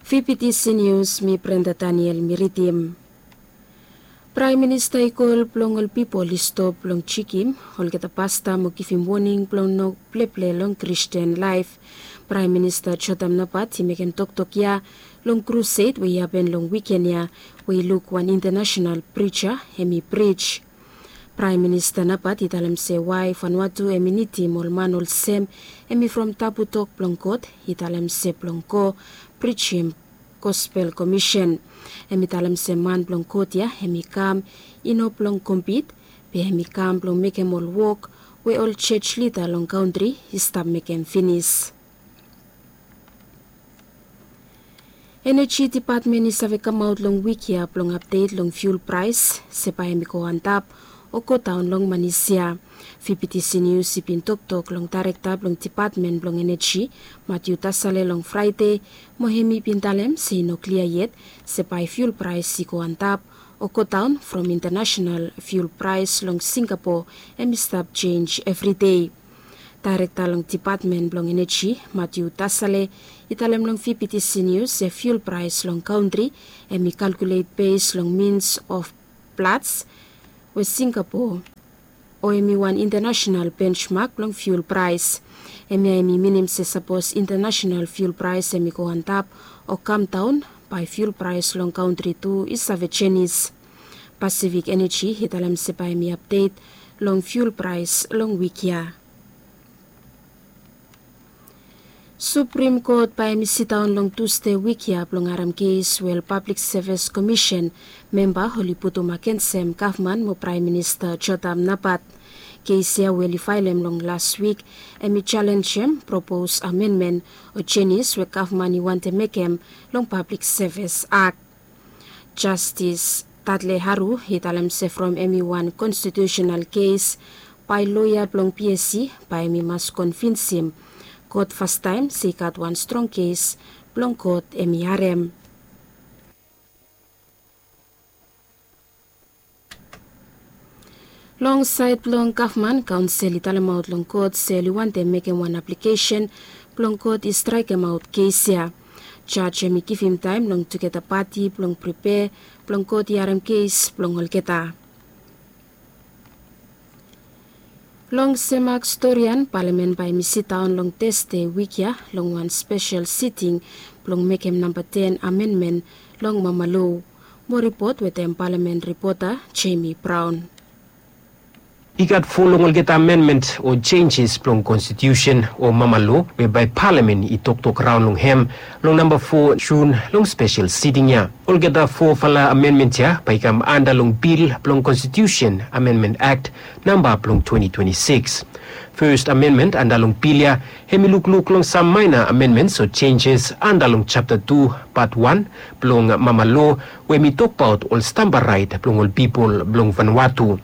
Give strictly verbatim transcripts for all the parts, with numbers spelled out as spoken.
Fifiti sinius mi Brenda Daniel mi ridim. Praem Minista i kol blong ol pipol i stop blong jekem olgeta pasta mo givim woning blong no pleple long Kristin laef. Praem Minista Jotam Napat i mekem toktok ya long krused we i hapen long wiken ya, we i luk wan intanasenal prija hem i prij. Praem Minista Napat i talem se wae Vanuatu hem i nidim ol man olsem hem i from tabu tok blong God i talem se blong go prijim gospel komisen. Hem i talem se man blong God ya hem i kam i no blong kompit, be hem i kam blong mekem ol wok we ol jej lida long kantri i stap mekem finis. Eneji Depatmen i save kamaot long wik ya blong apdet long fiul praes se bae hem i go antap o godaon long manis ya. Fifiti sinius i bin toktok long daerekta blong Depatmen blong Eneji, Matiu Tasale, long Fraede, mo hem i bin talem se i no klia yet se bae fiul praes i go antap o godaon from intanasenal fiul praes long Singapo hem i stap jenj evridei. Daerekta long Depatmen blong Eneji, Matiu Tasale, i talem long Fifiti sinius se fiul praes long kantri hem i kalkulet bes long mins of Platts we Singapo, o hem i wan intanasenal bensmak blong fiul praes. Hemia hem i minim se sapos intanasenal fiul praes hem i go antap o kamdaon, bae fiul praes long kantri tu i save jenis. Pasifik Eneji i talem se bae hem i apdet long fiul praes long wik ya. Suprim Kot bae hem i sidaon long Tusde wik ya blong harem kes we ol Pablik Sevis Komisen memba oli putum agensem gavman mo Praem Minista Jotam Napat. Kes ya we oli faelem long las wik hem i jalenjem propos amenmen o jenis we gavman i wantem mekem long Pablik Sevis Akt. Jastis Tadle Haru i talem se from hem i wan konstitiusenal kes, bae loea blong PSC bae hem i mas konvinsim kot fastaem se i gat wan strong kes blong kot hem i harem. Long saed blong gavman, kaonsel i talemaot long kot se oli wantem mekem wan aplikesen blong kot i straekemaot kes ya. Jaj hem i givim taem long tugeta pati blong pripea blong kot i harem kes blong olgeta. Long Semak Storian, Palamen bae hem i sidaon long Tusde wik ya long wan spesel siting blong mekem namba ten amenmen long Mama Lo. Mo ripot wetem Palamen ripota Jemi Braon. I gat fo long olgeta amenmen o jenjes blong konstitiusen o Mama Lo we bae Palamen i toktok raon long hem long namba fo Jun long spesel siting ya. Olgeta fofala amenmen ya bae i kam anda long bil blong Konstitiusen Amenmen Akt namba blong twenti twenti sikis. Fes amenmen anda long bil ya hem i lukluk long sam maena amenmens o jenjes anda long japta tu pat wan blong Mama Lo we hem i tokbaot ol stamba raet blong ol pipol blong Vanuatu.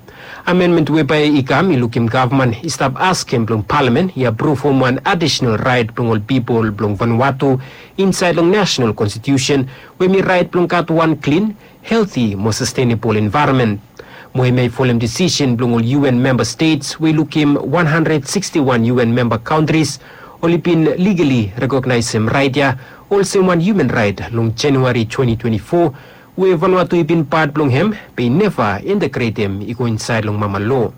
Amenmen we bae i kam i lukim gavman i stap askem blong Palamen i apruvum wan adisonal raet blong ol pipol blong Vanuatu insaed long nasonal konstitiusen we hem i raet blong gat wan klin, helti mo sastenebol envaeronmen. Mo hemia i folem disisen blong ol UN memba stets we i lukim wan handred siksti wan UN memba kantris oli bin ligali rekognaesem raet ya olsem wan hiuman raet long Januari twenti twenti fo, we Vanuatu i bin pat blong hem be i neva integretem i go insaed long Mama Lo.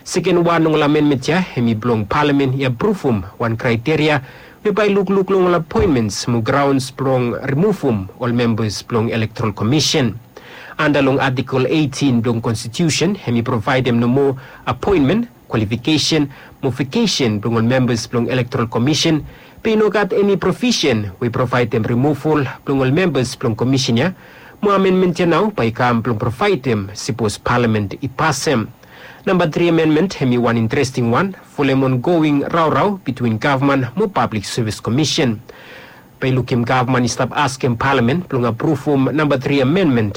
Seken wan long ol amenmen ya hem i blong Palamen i apruvum wan kraeteria we bae i lukluk long ol apoenmens mo graons blong rimuvum ol membas blong Elektoral Komisen. Anda long Atikol eitin blong Konstitiusen hem i provaedem nomo apoenmen, kwalifikesen mo vakesen blong ol membas blong Elektoral Komisen, be i no gat eni provisen we i provaedem rimuval blong ol membas blong komisen ya. Mo amenmen ya nao bae i kam blong provaedem sipos Palamen i pasem. Namba tri amenmen hem i wan interesting wan folem ongoing raorao bitwin gavman mo Pablik Sevis Komisen. Bae i lukim gavman i stap askem Palamen blong apruvum namba tri amenmen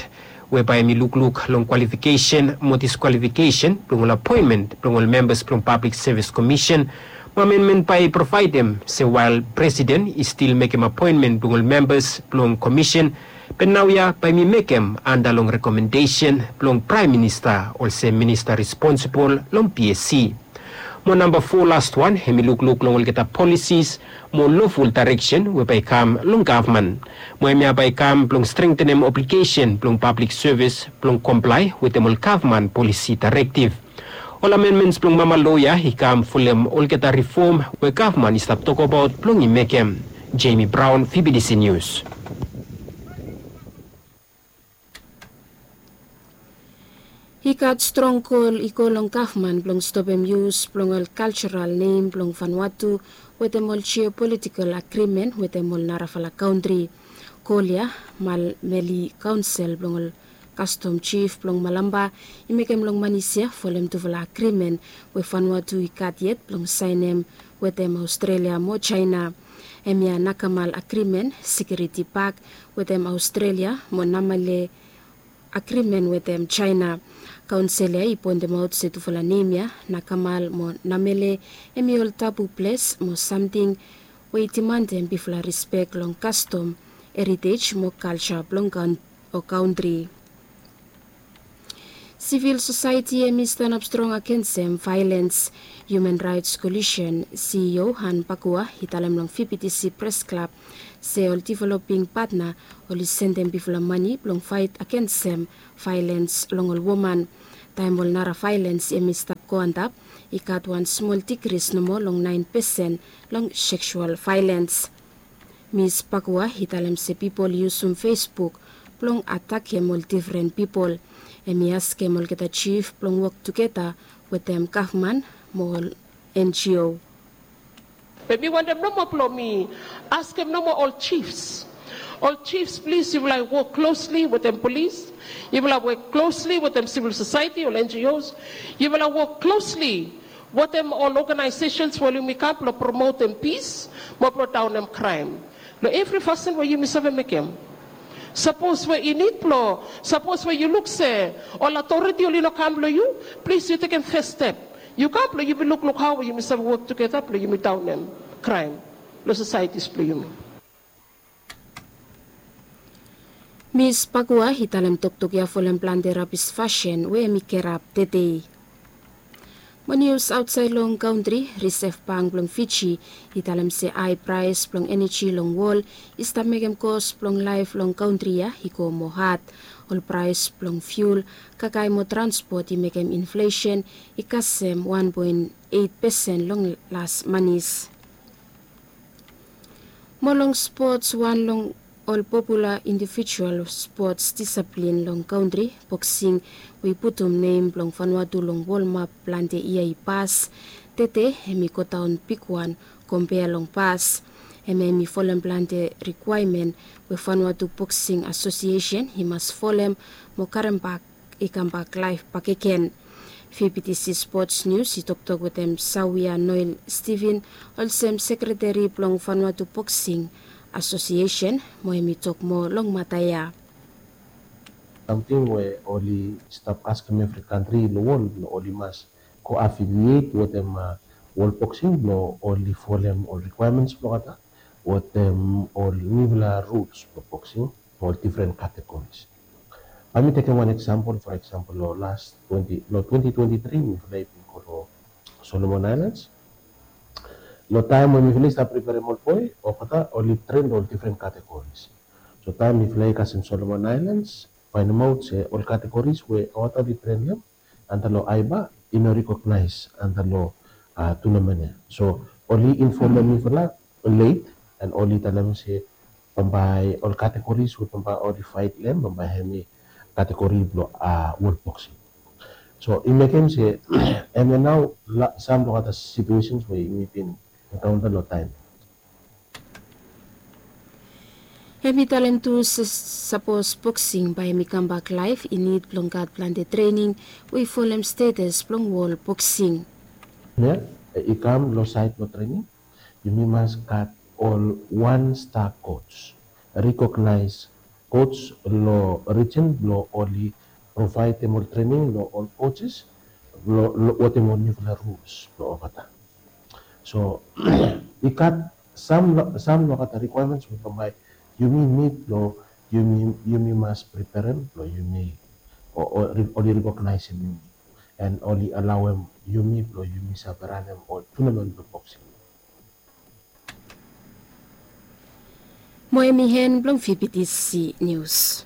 we bae hem i lukluk long kwalifikesen mo diskwalifikesen blong ol apoenmen blong ol membas blong Pablik Sevis Komisen. Mo amenmen bae i provaedem se wael Presiden i stil mekem apoenmen blong ol membas blong komisen, be naoia bae hem i mekem anda long rekomendesen blong Praem Minista olsem minista responsebol long PSC. Mo namba fo, last wan, hem i lukluk long olgeta policies mo loful direction we bae i kam long gavman. Mo hemia bae i kam blong strengtenem obligesen blong pablik sevis blong komplae wetem ol gavman polisi daerektiv. Ol amendments blong mama loia i kam folem olgeta rifom we gavman i stap tokbaot blong i mekem. Jamie Brown, V B T C News. I gat strong kol i go long gavman blong stopem yus blong ol kaljoral nem blong Vanuatu wetem ol jiopolitikal agrimen wetem ol narafala kantri. Kol ya, Mamele Kaonsel blong ol kastom jif blong Malampa i mekem long manis ya folem tufala agrimen we Vanuatu i gat yet blong saenem wetem Aostrelia mo Jaena. Hemia Nakamal agrimen, Sikiuriti Pak wetem Aostrelia mo Namele agrimen wetem Jaena. Kaonsel ya i poentemaot se tufala nem ya, Nakamal mo Namele, hem i ol tabu ples mo samting we i dimandem bifala rispek long kastom, heritej mo kalja blong kantri. Sivil sosaeti hem i stanap strong agensem vaelens. Human Rights Coalition CEO Han Pakua i talem long V B T C Press Club se ol developing patna oli sendem bifala mane blong faet agensem vaelens long ol woman. Taem ol nara vaelens hem i stap go antap, i gat wan smol dikris nomo long naen pesen long seksual vaelens. Mis Pakua i talem se pipol i yusum Facebook blong atakem ol difren pipol. Hem i askem olgeta jif blong wok tugeta wetem gavman mo ol N G O. Be mi wantem nomo blong mi askem nomo ol chiefs. Ol chiefs, plis yufala wok klosli wetem polis, yufala wok klosli wetem sivil sosaeti, ol N G Os, yufala wok klosli wetem ol organisations we yumi gat blong promotem pis mo bringdaonem kraem long evri fasin we yumi save mekem. Sapos we i nid blong, sapos we yu luk se ol aotoriti oli no kam long yu, plis yu tekem fes step. Yu kam blong yumi lukluk hao we yumi save wok tugeta blong yumi daonem kraem long sosaetis blong yumi. Mis Pakua i talem toktok ya folem plante rabis fasin we hem i kirap tedei. Mo nius aotsaed long kantri, Risev Bank blong Fiji i talem se hae praes blong eneji long wol i stap mekem kos blong laef long kantri ya i go moa had. Ol praes blong fiul, kakae mo transpot i mekem inflesen i kasem wan poen eit pesen long las manis. Mo long spots, wan long ol popula indivijual spots disaplin long kantri, boksing, we i putum nem blong Vanuatu long wol map plante yia i pas. Tede hem i godaon bigwan kompea long pas. Hem hem i folem plante rikwaemen we Vanuatu Boksing Asosiesen i mas folem mo karembak i kambak laef bakegen. V B T C Sports News i toktok wetem Sawia Noel Steven, olsem sekreteri blong Vanuatu Boksing Asosiesen, mo hem i tok moa long mata ya. Samting we oli stap askem evri kantri long wol blong oli mas go afiliet wetem, a, wol boksing blong oli folem ol rikwaemens blong olgeta wetem ol niufala ruls blong boksing, ol difren kategoris. Bae mi tekem wan eksampol, fo eksampol, long las twenti, long twenti twenti tri mifala i bin go long Solomon Aelands. Long taem we mifala i stap priperem ol boe, olgeta oli tren long ol difren kategoris. So taem mifala i kasem Solomon Aelands, faenemaot se ol kategoris we olgeta oli trenem antap long AIBA i no rikognaes antap long, a, tunamen ya. So oli infomem mifala let, an oli talem se bambae ol kategoris we bambae oli faet long hem, bambae hemi kategori blong, a, wol boksing. So i mekem se hemia nao sam long olgeta situesens we yumi bin enkaonta long taem. Hem i talem tu se sapos boksing bae hem i kambak laef, i nid blong gat plante trening we i folem stetes blong wol boksing. Ya, i kam long saed blong trening, yumi mas gat ol wan sta kos, rikognaes kos long rijin blong oli provaedem ol trening long ol koses wetem ol niufala ruls blong olgeta. So i gat sam long olgeta rikwaemens we bambae yumi nid blong yumi, yumi mas priperem blong yumi, o, oli rikognaesem yumi. and oli alaoem yumi blong yumi save ranem ol tournament blong boxing. Mo hemi hen blong VBTC news.